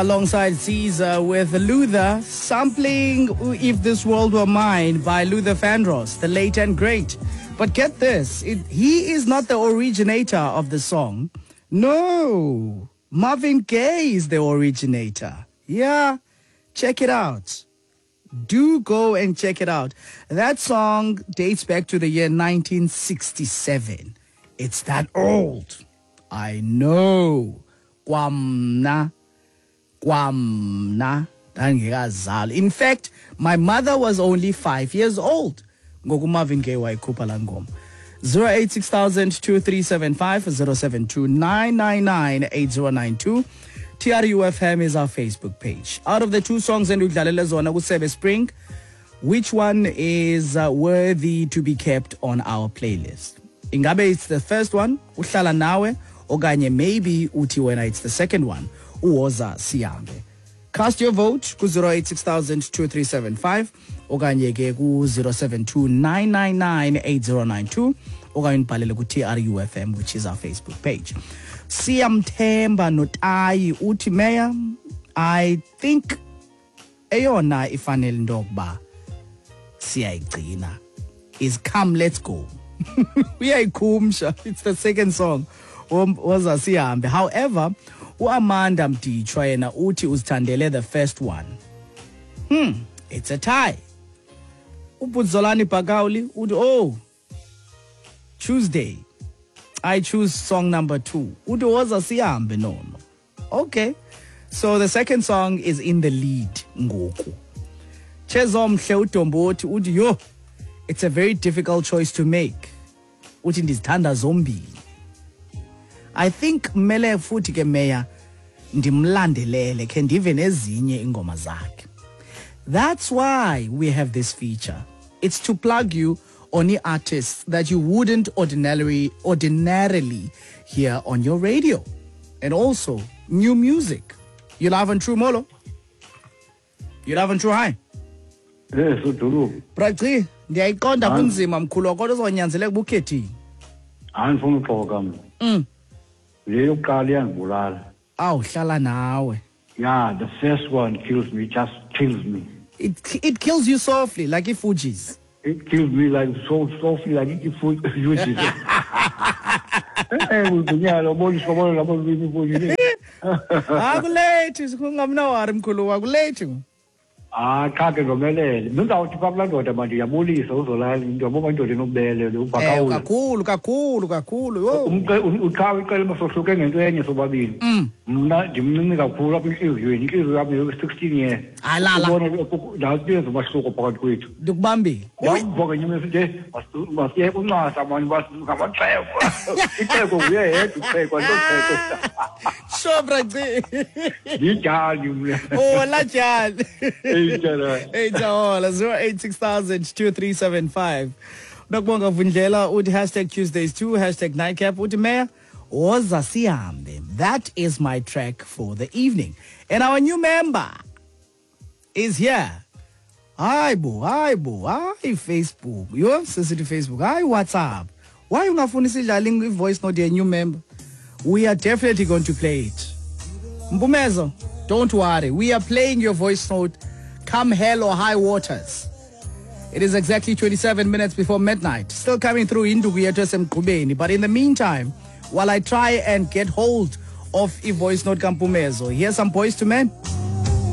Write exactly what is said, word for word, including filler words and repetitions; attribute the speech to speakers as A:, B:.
A: Alongside Caesar with Luther, sampling If This World Were Mine by Luther Vandross, the late and great. But get this, it, he is not the originator of the song. No, Marvin Gaye is the originator. Yeah, check it out. Do go and check it out. That song dates back to the year nineteen sixty-seven. It's that old. I know. Kwamna. Kwamna. Ndangekazalwa. In fact, my mother was only five years old. Ngoku Marvin Gaye wayikhupha laa ngoma. zero eight six thousand two three seven five, zero seven two nine nine nine eight zero nine two. T R U F M is our Facebook page. Out of the two songs endikudlalele zona kuSebe Spring, which one is, uh, worthy to be kept on our playlist? Ingabe it's the first one, Uhlala Nawe, okanye maybe uthi wena it's the second one, Uwoza Sihambe. Cast your vote ku zero eight six thousand two three seven five okanye ke ku zero seven two nine nine nine eight zero nine two okanye ubhalele ku T R U F M, which is our Facebook page. Siyamthemba Notayi uthi Mayor, I think eyona ifanele into yokuba siyayigcina is Come Let's Go. Uyayikhumsha, it's the second song. Woza Sihambe. However, uAmanda Mditshwa yena uthi uzithandele the first one. Hmm, it's a tie. UBudzolani Bhakawuli uthi, oh, Tuesday, I choose song number two. Uthi woza sihambe nono. Okay. So the second song is in the lead ngoku. Chezomhle uDombothi uthi, yo, it's a very difficult choice to make. Uthi ndizithanda zombini. I think mele futhi ke Mayor ndimlandelele khe ndive nezinye ingoma zakhe. That's why we have this feature. It's to plug you on the artists that you wouldn't ordinarily, ordinarily hear on your radio. And also new music. You live on True Molo? You live on True High?
B: Yes, Udulu.
A: Brachi, ndiyayiqonda kunzima mkhulu kodwa uzonyanzeleka ubukhethile.
B: Andifuni uxoka mna.
A: Mm.
B: Le yokuqala iyandibulala.
A: Awu, hlala nawe.
B: Yeah, the first one kills me, just kills me.
A: It, it kills you softly, like i-Fugees.
B: It kills me like so softly, like i-Fugees. Eh, uzinyalo, boniswa bona labo i-Fugees.
A: Akulethi, ungamnawari mkhulu, akulethi.
B: Ah, cha ke ngomelele. Mina ngizawuthi pha kulaa ndoda manje ndiyabulisa uzolala, ndiyabona indoda enobubele lo ubhakawula.
A: Eh, kakhulu, kakhulu, kakhulu. Yho.
B: Uqhawe iqela masohluke ngento enye sobabili. Mna ndimncinci kakhulu apha entliziyweni, intliziyo yam yo-sixteen years.
A: Alala.
B: Ubona nathi yenza umahluko phakathi kwethu.
A: Ndikubambile.
B: Ndiyambonga nyuma nje, masiye uncasa mani basingamaxhego. Ixhego nguye yedwa uxhego, andixhego.
A: Sure, Braci.
B: Ndijali mna.
A: Oh, lajali. Hey, Jaola, zero eight six thousand two three seven five. Nokubonga Vundlela uthi hashtag Tuesdays two, hashtag Nightcap uthi Mayor, Woza Sihambe. That is my track for the evening. And our new member is here. Hi, bo, hi, bo, hi, Facebook. Yo, sensitive Facebook. Hi, WhatsApp. Why ungafuni sidlale voice note ye new member? We are definitely going to play it. Mpumezo, don't worry. We are playing your voice note come hell or high waters. It is exactly twenty-seven minutes before midnight. Still coming through induku yethu esemgqubeni. But in the meantime, while I try and get hold of a voice note kaMpumezo, here's some Boyz two Men.